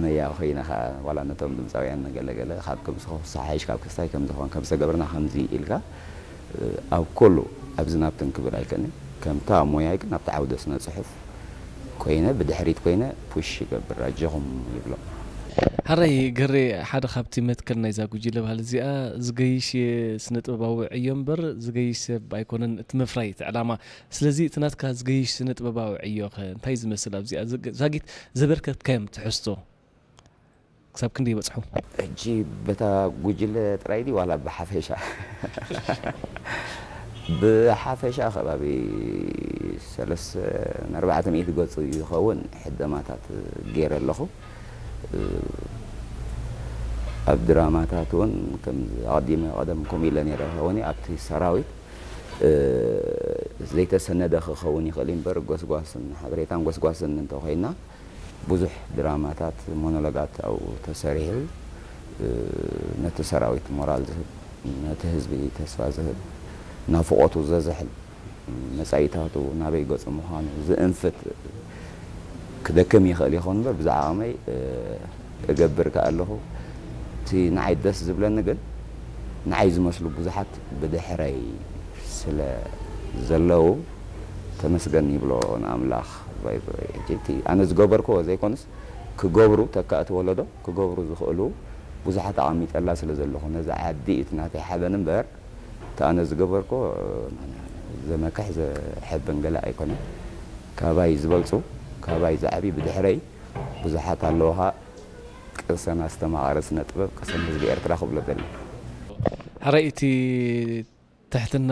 መያ ኮይነ ኸዓ ዋላ ነቶም ድምፃውያን ገለገለ ካብ ከምዚ ክሳሓይሽ ካብ ክስታይ ከምዚ ኾን ከምዚ ተገብርና ከምዚ ኢልካ ኣብ ኩሉ ኣብዚ ናብትን ክብል ኣይከንን። ከምታ ሞያይ ግን ኣብቲ ዓውደ ስነ ፅሑፍ ኮይነ ብድሕሪት ኮይነ ፑሽ ይገብር ኣጀኹም ይብሎም። ሓራይ ገሬ፣ ሓደ ካብቲ መትከል ናይዛ ጉጅለ ባህሊ እዚኣ ዝገይሽ ስነ ጥበባዊ ዕዮ እምበር ዝገይሽ ሰብ ኣይኮነን እቲ መፍራይ እቲ ዕላማ። ስለዚ እቲ ናትካ ዝገይሽ ስነ ጥበባዊ ዕዮ ከ እንታይ ዝመስል ኣብዚኣ ዛጊት ዘበርከትካዮም ትሕዝቶ ክሳብ ክንደይ ይበጽሑ? ሕጂ በታ ጉጅለ ጥራይ ድዩ ዋላ ብሓፈሻ? ብሓፈሻ ከባቢ ሰለስተ ንኣርባዕተ ሚእቲ ገጹ ይኸውን ሕደማታት ገይረ ኣለኹ። ኣብ ድራማታት እውን ከም ኣቐዲመ ቀደም ከምኡ ኢለ ነይረ ክኸውን ኣብቲ ሰራዊት ዘይተሰነደ ክኸውን ይኽእል እምበር ጎስጓስን ሓበሬታን ጎስጓስን እንተኾይና ብዙሕ ድራማታት ሞኖሎጋት ኣብኡ ተሰሪሑ ነቲ ሰራዊት ሞራል ዝህብ ነቲ ህዝቢ ተስፋ ዝህብ ናፍቖቱ ዘዝሕል መጻኢታቱ ናበይ ገጹ ምዃኑ ዝእንፍት ክደክም ይኽእል ይኸውን እምበር ብዛዕባ ኣቕመይ እገብር ከኣ ኣለኹ። እቲ ንዓይ ደስ ዝብለኒ ግን ንዓይ ዝመስሉ ብዙሓት ብድሕረይ ስለ ዘለዉ ተመስገን ይብሎ ንኣምላኽ። ኣነ ዝገበርክዎ ዘይኮኑስ ክገብሩ ተካእቲ ወለዶ ክገብሩ ዝኽእሉ ብዙሓት ኣቐሚጠላ ስለ ዘለኹ ነዛ ዓዲ እቲ ናተይ ሓበን እምበር እቲ ኣነ ዝገበርክዎ ዘመክሕ ዘሕብን ገለ ኣይኮነን። ካባይ ዝበልፁ ካባይ ዝዓብዩ ብድሕረይ ብዙሓት ኣለዉ። ቅሰን ኣስተማቓሪ ስነ ጥበብ ቅሰን ህዝቢ ኤርትራ ክብሎ ደሊ። ሕራይ እቲ ትሕትና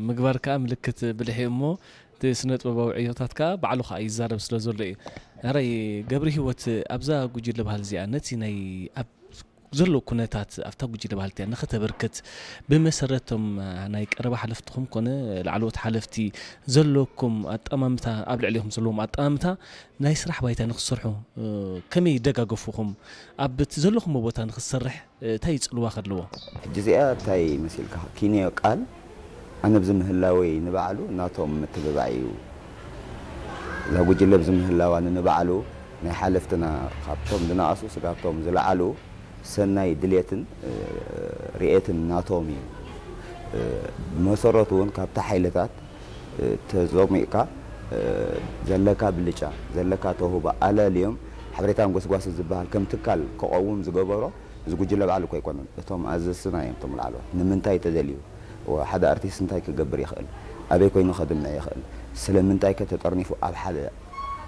ምግባር ከዓ ምልክት ብልሒ እሞ እቲ ስነ ጥበባዊ ዕዮታት ከዓ ባዕሉ ከዓ ይዛረብ ስለ ዘሎ እዩ። ሕራይ ገብሪ ህይወት ኣብዛ ጉጅለ ባህል እዚኣ ነቲ ናይ ኣብ ዘሎ ኩነታት ኣብታ ጉጅለ ባህል እቲኣ ንኸተበርክት ብመሰረቶም ናይ ቀረባ ሓለፍትኹም ኮነ ላዕለዎት ሓለፍቲ ዘለኩም ኣጠማምታ ኣብ ልዕሊኹም ዘለዎም ኣጠማምታ ናይ ስራሕ ባይታ ንክሰርሑ ከመይ ይደጋገፉኹም ኣብቲ ዘለኹም ቦታ ንክሰርሕ እንታይ ይጽልዋ ከለዎ? ሕጂ እዚኣ እንታይ መሲልካ ኪንዮ ቃል ኣነ ብዚ ምህላወይ ንባዕሉ ናቶም ምትብባዕ እዩ። እዛ ጉጅለ ብዚ ምህላዋ ንንባዕሉ ናይ ሓለፍትና ካብቶም ዝነኣሱ ስጋብቶም ዝለዓሉ ሰናይ ድሌትን ርኤትን ናቶም እዩ። ብመሰረቱ እውን ካብቲ ሓይልታት ተዘሚቕካ ዘለካ ብልጫ ዘለካ ተውህቦ ኣለልዮም ሓበሬታን ጎስጓስን ዝበሃል ከም ትካል ክቐውም ዝገበሮ እዚ ጉጅለ ባዕሉ እኮ ኣይኮነን። እቶም ኣዘዝትና እዮም እቶም ላዕለዎት። ንምንታይ ተደልዩ? ሓደ ኣርቲስት እንታይ ክገብር ይኽእል? ኣበይ ኮይኑ ከድምዕ ይኽእል? ስለምንታይ ከ ተጠርኒፉ ኣብ ሓደ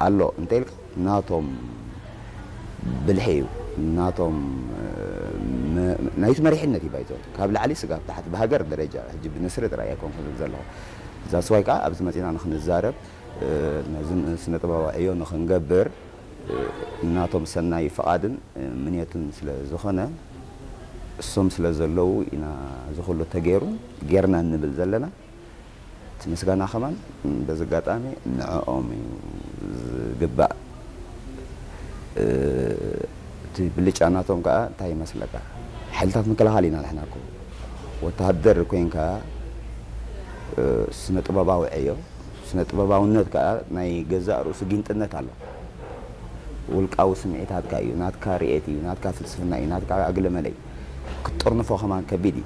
ኣሎ እንተኢልካ ናቶም ብልሒ እዩ ናቶም ናይቲ መሪሕነት እዩ ባይዞ ካብ ላዕሊ ስጋብ ታሕቲ ብሃገር ደረጃ ሕጂ ብንስሪ ጥራይ ኣይኮንኩን ዘለኹ ዛስዋይ ከዓ ኣብዚ መፂና ንክንዛረብ ነዚ ስነ ጥበባዊ ዕዮ ንክንገብር እናቶም ሰናይ ፍቓድን ምንየትን ስለ ዝኾነ እሶም ስለ ዘለዉ ኢና እዚ ኩሉ ተገይሩ ጌርና እንብል ዘለና እቲ ምስጋና ከማን በዚ ኣጋጣሚ ንዕኦም እዩ ዝግባእ እቲ ብልጫ ናቶም ከዓ እንታይ ይመስለካ ሓይልታት ምክልኻል ኢና ንሕና እኮ ወተሃደር ኮይንካ ስነ ጥበባዊ ዕዮ ስነ ጥበባውነት ከዓ ናይ ገዛእ ርእሱ ጊንጥነት ኣሎ። ውልቃዊ ስምዒታትካ እዩ፣ ናትካ ርእየት እዩ፣ ናትካ ፍልስፍና እዩ፣ ናትካ ኣግለመለ እዩ። ክትጠርንፎ ከማን ከቢድ እዩ።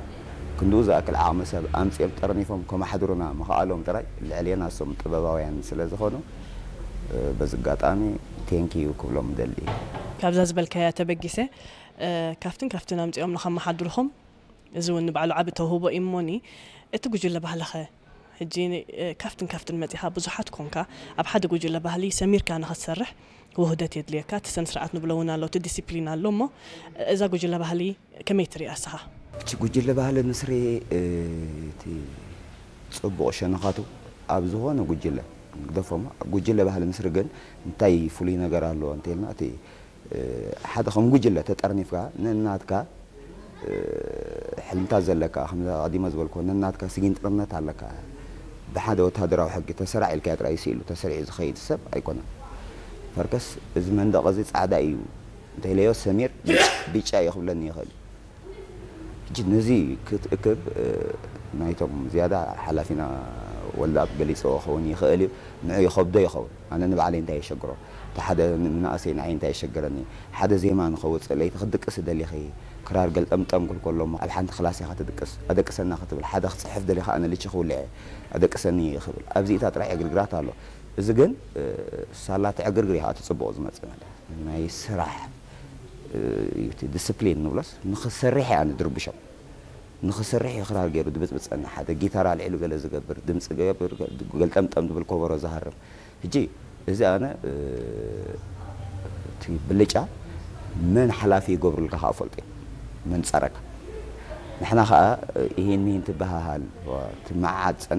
ክንድኡ ዝኣክል ዓቕሚ ሰብ ኣምፂኦም ጠርኒፎም ከማሕድሩና ምኽኣሎም ጥራይ ልዕሌና እሶም ጥበባውያን ስለ ዝኾኑ በዚ ኣጋጣሚ ቴንኪዩ ክብሎም ደሊ። ካብዛ ዝበልካያ ተበጊሰ ካብትን ካብትን ኣምፂኦም ንኸመሓድርኹም እዚ እውን ንባዕሉ ዓቢ ተውህቦ እዩ እሞኒ እቲ ጉጅለ ባህልኸ ሕጂ ካብትን ካብትን መጺኻ ብዙሓት ኮንካ ኣብ ሓደ ጉጅለ ባህሊ ሰሚርካ ንኸትሰርሕ ውህደት የድልየካ እቲ ሰን ስርዓት ንብሎ እውን ኣሎ እቲ ዲሲፕሊን ኣሎ እሞ እዛ ጉጅለ ባህሊ ከመይ ትሪኣ እስኻ እቲ ጉጅለ ባህሊ ምስሪ እቲ ጽቡቕ ሸነኻቱ ኣብ ዝኾነ ጉጅለ ንግደፎሞ ጉጅለ ባህሊ ምስሪ ግን እንታይ ፍሉይ ነገር ኣለዎ እንተልና እቲ ሓደ ከም ጉጅለ ተጠርኒፍካ ነናትካ ሕልምታት ዘለካ ከም ኣቐዲመ ዝበልኩ ነናትካ ስጊንጥርነት ኣለካ ብሓደ ወታደራዊ ሕጊ ተሰራዕ ኢልካ ጥራይ ስኢሉ ተሰሪዑ ዝኸይድ ሰብ ኣይኮነን ፈርከስ እዚ መንደቕ እዚ ፃዕዳ እዩ እንተኢለዮ ሰሚር ቢጫ እዩ ክብለኒ ይኽእል ሕጂ ነዚ ክትእክብ ናይቶም ዝያዳ ሓላፊና ወልደኣብ ገሊፅዎ ክኸውን ይኽእል እዩ ንዑ ይኸብዶ ይኸውን ኣነ ንባዕለይ እንታይ የሸግሮ እቲ ሓደ ንመናእሰይ ንዓይ እንታይ የሸገረኒ፣ ሓደ ዜማ ንኸውፅእ ለይቲ ክትድቅስ ደሊኺ ክራር ገልጠምጠም ክብል ከሎ እሞ ኣብ ሓንቲ ክላስ ኢኻ ትድቅስ፣ ኣደቅሰና ክትብል፣ ሓደ ክፅሕፍ ደሊኻ ኣነ ልቺ ክውልዐ ኣደቅሰኒ ክብል ኣብዚኢታ ጥራሕ ዕግርግራት ኣሎ። እዚ ግን ሳላ ትዕግርግር ኢኻ እቲ ፅቡቕ ዝመፅእ ማለት ናይ ስራሕ ዲስፕሊን ንብሎስ ንኽሰርሕ እያ ንድርብሾም። ንኽሰርሕ እዩ ክራር ገይሩ ድብፅብፀና፣ ሓደ ጊታር ኣልዒሉ ገለ ዝገብር፣ ድምፂ ገብር፣ ገልጠምጠም ዝብል ኮበሮ ዝሃርም። ሕጂ እዚ ኣነ እቲ ብልጫ መን ሓላፊ ይገብሩልካ ከዓ ፈልጦ እዩ፣ መን ፀረካ። ንሕና ከዓ ይህን ይህን ትበሃሃል ትመዓዓድ ፀንሕ